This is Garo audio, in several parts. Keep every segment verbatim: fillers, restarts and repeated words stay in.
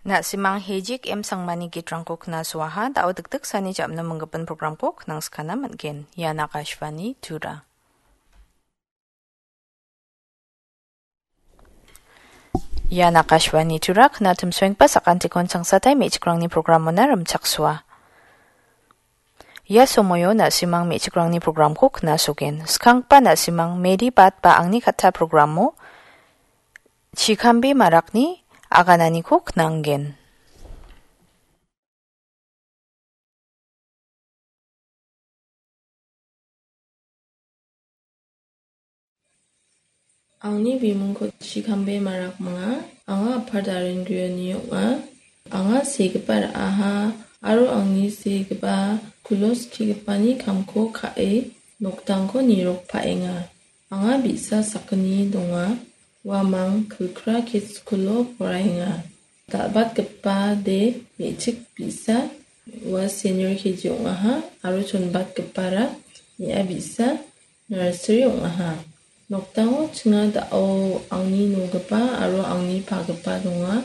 Na·simang Hejik M Sangmani gitrangko knasuaha, da·o dikdiksani jam·no minggipin programko knangskana man·gen. Ian Akashvani Tura. Ian Akashvani Tura, knatimsoenggipa sakantikon changsatai me·chikrangni programona rimchaksoa. Ia somoio na·simang me·chikrangni programko knasogen. Skanggipa na·simang Medi Bat ba Angni Katta programo Chikambe Marakni agananiko knanggen. Angni bimingko Chikambe Marak ong·a. Anga Apar Darengrioni ong·a. Anga segipa ra·aha aro angni segipa kulo skigipani kamko ka·e noktangko nirokpaenga. Anga bi·sa sakgni donga. Uamang Kilkra Kids School-o poraenga. Dal·batgipa de me·chik bi·sa ua senior K G ong·aha aro chonbatgipara me·a bi·sa nursery ong·aha. Nokdango chinga da·o angni nogipa aro angni pagipa donga.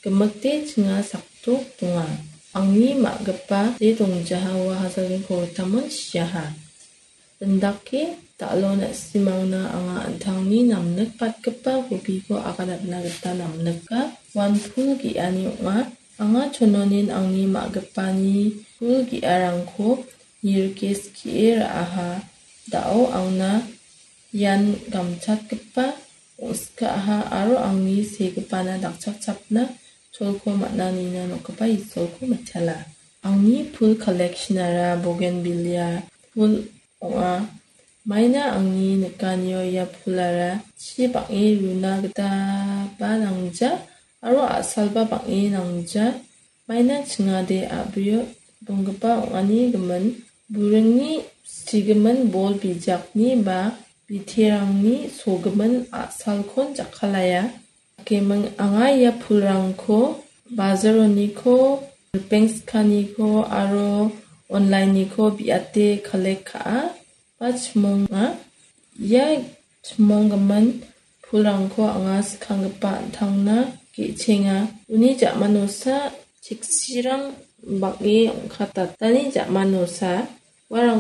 Gimikde chinga sakdok donga. Angni ma·gipa de dongjaha ua Hasalgin Koritamon siaha. Indake dal·o na·simangna anga an·tangni namnikbatgipa hobiko aganatna gita namnika. Uan pul ge·ani ong·a. Anga chononin angni ma·gipani pul ge·arangko nirike skie ra·aha. Da·o angna ian gamchatgipa ong·sika·aha aro angni segipana dakchakchapna cholko man·a nina nokgipa Isolko mitela. Angni pul collection-ara bougainvillea pul ong·a. Maina angni nikanio ia pulara chi bang·e runa gitaba nangja aro a·salba bang·e nangja. Maina chingade a·brio donggipa ong·ani gimin, buringni sigimin bol bijakni ba biterangni sogimin a·salkon jakkalaia. Dakeming anga ia pulrangko bazaroniko, ripeng sikaniko aro online-niko biate collect ka·a ba chimonga. Ia chimonggimin pulrangko anga skanggipa an·tangna ge·chenga. Uni ja·manosa cheksirang bang·e ong·katatani ja·manosa uarang